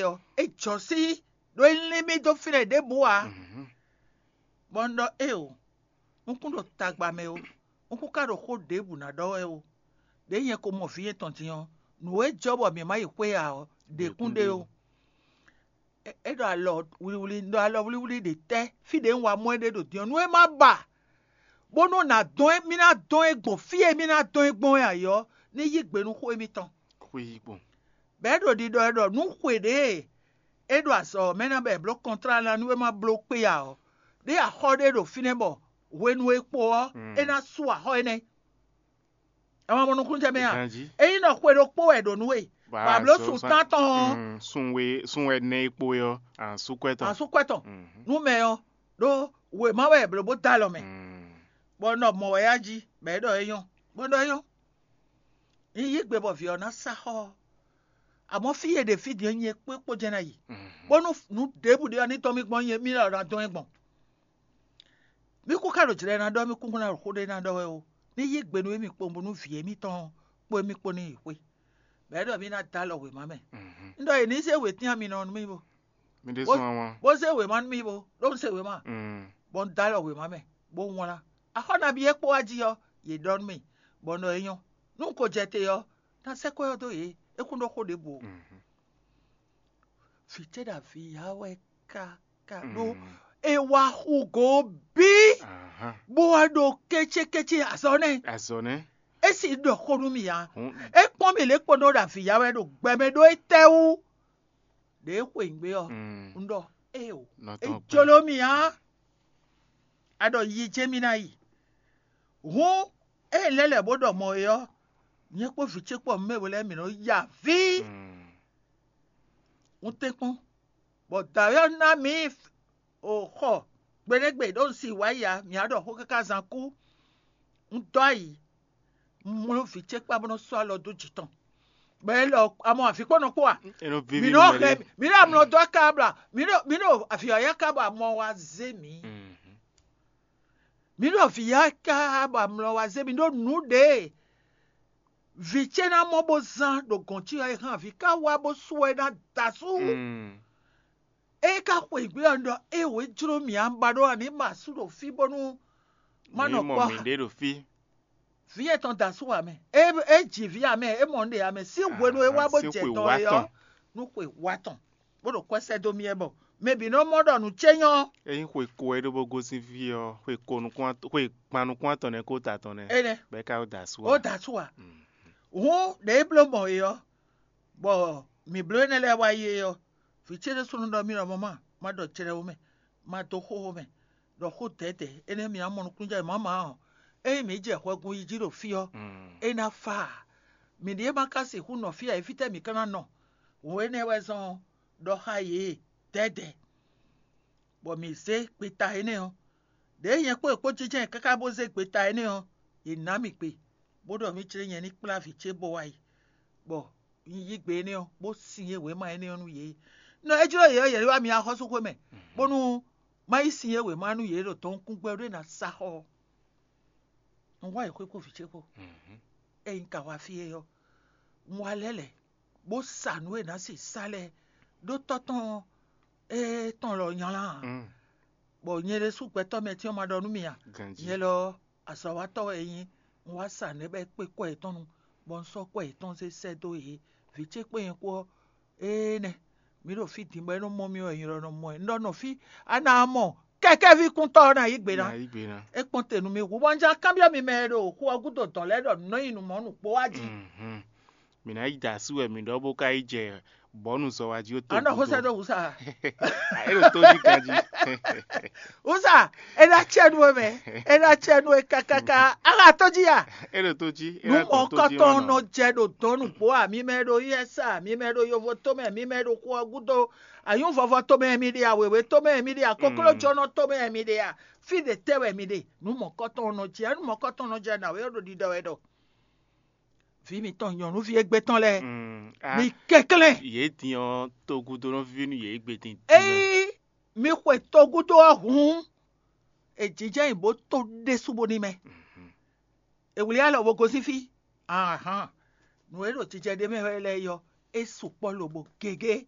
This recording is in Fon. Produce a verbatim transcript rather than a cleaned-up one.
ɔ́, é jɔ sí ɖó é lín mì dó fínɛ́ ɖěbǔ ǎ. Bɔ un ɖɔ éeǒ, un kún ɖo tagba mɛ ó, un kún ka ɖo xó ɖěbǔ ná ɖɔ wɛ ó. Ɖěe nyɛ ko mɔ vǐ nyɛ tɔn din ɔ́, nǔ e jɔ bɔ mǐ ma yi xwé ǎ ɔ́, ɖě kún ɖe ó. É ɖo alɔ wlíwlí, un ɖo alɔ wlíwlí ɖě tɛ́? Fí ɖě un wá mɔ ɛ ɖe ɖo din ɔ́, nú é má ba, bónú ná dɔn ɛ, mì ná dɔn ɛ gbɔn fí e mì ná dɔn ɛ gbɔn wɛ ayǐ ɔ́, ní yí gbe nú xó émítɔn. Xwé yí gbɔn. Bɔ é ɖo ɖiɖɔ wɛ ɖɔ nǔ xwe ɖě e é ɖo azɔ̌ ɔ́ mɛ ná bɔ è blǒ kɔntlá ná nú é má bló kpé ǎ ɔ́, ɖé axɔ́ ɖé ɖo fínɛ́ bɔ hwenu e kpo ɔ́, é ná sú axɔ́ énɛ́. Ɛ ma mɔ nukúnnú jɛ mɛ a? Ganjí. Ényí nɔ xwe ɖokpó wɛ ɖo nú we, bɔ a blǒ sun tántɔn ɔ́, sun we sun wɛ nɛ e kpo é ɔ́, a nǎ sú kwɛ́ tɔn. A sú kwɛ́ tɔn nú mɛ ɔ́, ɖó wěma wɛ è blǒ bó dó alɔ mɛ, bɔ un ɖɔ mɔ̌ wɛ a jí, bɔ é ɖɔ é nyɔ́, bɔ un ɖɔ é nyɔ́. Un yí gbe bɔ vǐ ɔ́ ná sá xɔ ɔ́. Amɔ̌ fí e ɖe fí din ɔ́, nyɛ kpé kpó jɛ́n ná yi, bónú nǔ ɖěbǔ ɖé ɔ́ ní tɔ́n mì gbɔn nyɛ mì lɔ ná dɔn ɛ gbɔn. Mì kún ka ɖo jlɛ̌ ná ɖɔ, mì kún ná ɖo xó ɖé ná ɖɔ wɛ ó. Ní yí gbe nú émí kpowun bónú vǐ émítɔn kpó émí kpó ní yi xwé. Bɔ é ɖɔ mì ná dó alɔ wěma mɛ. Un ɖɔ è nǐ zé wětín ami nɔ nú mì bo, Mi ɖésú wǎnwá. Bó zé wěma nú mì bo, ɖó un se wěma, bɔ un dó alɔ wěma mɛ, bó wlán. Axɔ́ nabí e kpó wá jí ɔ́, yě ɖɔ nú mì, bɔ un ɖɔ é nyɔ́. Nú un ko jɛ te ɔ́, ná sɛ́ kwɛ́ ɔ́ dó yě, é kún ɖó xó ɖěbǔ ó. Vǐ ce ɖo avǐ ya wɛ káká ɖó é wá xú go bí, bó wá ɖo kécékécé azɔ̌ nɛ́. Azɔ̌ nɛ́. É sì ɖɔ xó nú mì ǎ. É kpɔ́n mì lě kpɔ́n ɖó ɖo avǐ ya wɛ ɖo gbɛ mɛ ɖó étɛ́wú? Ɖě é xweyǐgbe ɔ́, un ɖɔ éeǒ, é jló mì ǎ. A ɖɔ yi jɛ́n mì ná yi. Hǔn ée lɛ́ lɛ̌ bó ɖɔ mɔ̌ é ɔ́, nyɛ kpó vǐ ce kpó mɛ we lɛ́ɛ mǐ nɔ ya avǐ. Un tɛ́nkpɔ́n, bɔ dǎwe ɔ́ ná mǐ xɔ gbeɖégbé ɖó un si wǎ yi ǎ, mǐ á ɖɔ xó káká zán kú. Un dó ayǐ, un mló vǐ ce kpá bó nɔ́ sɔ́ alɔ dó jǐ tɔn. Bɔ é lɔ amɔ avǐ kpɔ́ nɔ kpó a? Mǐ nɔ hɛn, mǐ ɖo amlɔ dó akábla, mǐ ɖo mǐ ɖo avǐ ɔ́ yá kábla amɔ wá zé mǐ. Mǐ ɖo avǐ yá kábla amlɔ wá zé mǐ ɖó nǔ ɖě vǐ ce ná mɔ bó zán ɖo gɔ̌n ce ɔ́, é hɛn avǐ ká wá bó sú ɛ ná da asú. É ka xweyǐgbe ɔ́, un ɖɔ éeǒ, é jló mì ǎ, un ba ɖó ǎ ní ma asú ɖo fí bónú má nɔ kpɔ́. Mǐ ɖe ɖo fí. Vǐ etɔn da asú ǎ mɛ. É é ji vǐ ǎ mɛ, é mɔ un ɖe ǎ mɛ. Sín hwenu e é wá bó jɛ tɔn é ɔ́, nú xwe wá tɔn, bó ɖo kwɛ́ sɛ́ dó mì wɛ bɔ mɛ bǐ nɔ mɔ ɖɔ nǔ ce nyɔ́. Ényí xwe ko wɛ é ɖó bó gosín fí ɔ́, xwe ko nukún xwe kpan nukún atɔn nɛ́ kó ta tɔn nɛ́. Énɛ́. Bɔ é ka da asú ǎ. Ó da asú ǎ. Hǔn ɖě é bló mɔ é ɔ́, bɔ mǐ bló énɛ́ lɛ́ɛ wá yi é ɔ́, vǐ ce ɖésúnɔ ɖɔ mì ɖɔ mama, ma ɖɔ jlɛ́ ó mɛ, ma dó xóxó mɛ, ɖɔ xó dɛ̌dɛ̌, énɛ́ mǐ ná mɔ nukúnnú jɛ mǎmǎ ɔ́, ényí mǐ jɛ hwɛgun yi jí ɖo fí ɔ́, é ná fá ǎ. Mǐ ɖíe ma ka sixú nɔ fí ǎ é, fítɛ́ mǐ ka ná nɔ? Hǔn énɛ́ wɛ zɔ́n ɔ́, ɖɔ xá yě dɛ̌dɛ̌, bɔ mǐ zé gbeta énɛ́ ɔ́. Ɖěe nyɛ kpó è kpó jínjɔ́n ɛ káká bó zé gbeta énɛ́ ɔ́, yě ná mì gbe, bó ɖɔ mì jlé nyɛ ní kplá vǐ ce bó wá yi, bɔ un yí gbe énɛ́ ɔ́, bó sin e wěma énɛ́ ɔ́ nú yě. Nɔ é jló yě ɔ́, yě wá mi axɔ́súxwé mɛ, bónú má yi sin e wěma nú yě ɖo dɔn nukúngbɛ́ ɖé ná sa xɔ ɔ́. Un wá yi xwé kpó vǐ ce kpó, ényí ka wá fí é ɔ́, un wá lɛ́ lɛ̌, bó sa nǔ e nǎ sixú sa lɛ́ɛ ɖó tɔ́ tɔn étɔn lɔ nylá ǎ. Bɔ nyɛ ɖésú gbɛtɔ́ mɛ tɔn ma ɖɔ nú mì a? Nyɛ lɔ ɔ́, azɔ̌watɔ́ wɛ é nyí. Un wá sa nǔ e bɔ é kpé kwɛ́ yětɔn nu, bɔ un sɔ́ kwɛ́ yětɔn zé sɛ́ dó yě. Vǐ ce kpé nyɛ kpó ɔ́, éé nɛ́, mǐ ɖo fí din bɔ é nɔ mɔ mì wɛ, nyɛ lɔ nɔ mɔ ɛ. Un ɖɔ nɔ fí, a nǎ mɔ kɛkɛ́ví kúntɔ́ ɔ́ ná yí gbe ná. Ná yí gbe ná. É kpɔ́n te nú mì hú, bɔ un jlá kanbyɔ́ mi mɛ e ɖo xu ɔ́ gúdo dɔ̌n lɛ́ɛ ɖɔ nǔ nɔ nyi nǔ mɔ̌ nǔ kpó wá jí. Mhm. Mǐ ná yi da asú wɛ mǐ ɖɔ bó ka yi jɛ bɔ̌nu zɔ wá jí ó to. A nɔ xó sɛ́ dó wǔ sa. É ɖo tó jí ganjí. Wúsa, é ná cɛ nú we mɛ, é ná cɛ nú we kákáká. Á xa tó jí a? É ɖo tó jí. Nú mɔ̌kɔtɔn nɔ jɛ ɖo dɔ̌n nǔgbó a? Mi mɛ ɖo U S A, mi mɛ ɖo yovo tomɛ, mi mɛ ɖo xu ɔ́ gúdo, anyǔvɔvɔ tomɛ mi ɖe a, wěwé tomɛ mi ɖe a, koklójɔ́nɔ tomɛ mi ɖe a, fí ɖě tɛ́ wɛ mi ɖe? Nú mɔ̌kɔtɔn nɔ jɛ, nú mɔ̌kɔtɔn nɔ jɛ nǎwe ɔ́ ɖo ɖiɖɔ wɛ ɖɔ vǐ mitɔn nyɔ̌nuví égbé tɔn lɛ́ɛ, mi kɛnklɛ́n. Yě din ɔ́, togúdonɔví nú yě égbé din. Ényí mi xwe togúdo ɔ́ hǔn, è jínjɔ́n nyi bó tó ɖésú bó ní mɛ. È wlí alɔ bó gosín fí. Ahan, nǔ e ɖo jijɛ ɖé mɛ wɛ lɛ́ɛ ɔ́, é sukpɔ́ lobo gěgé.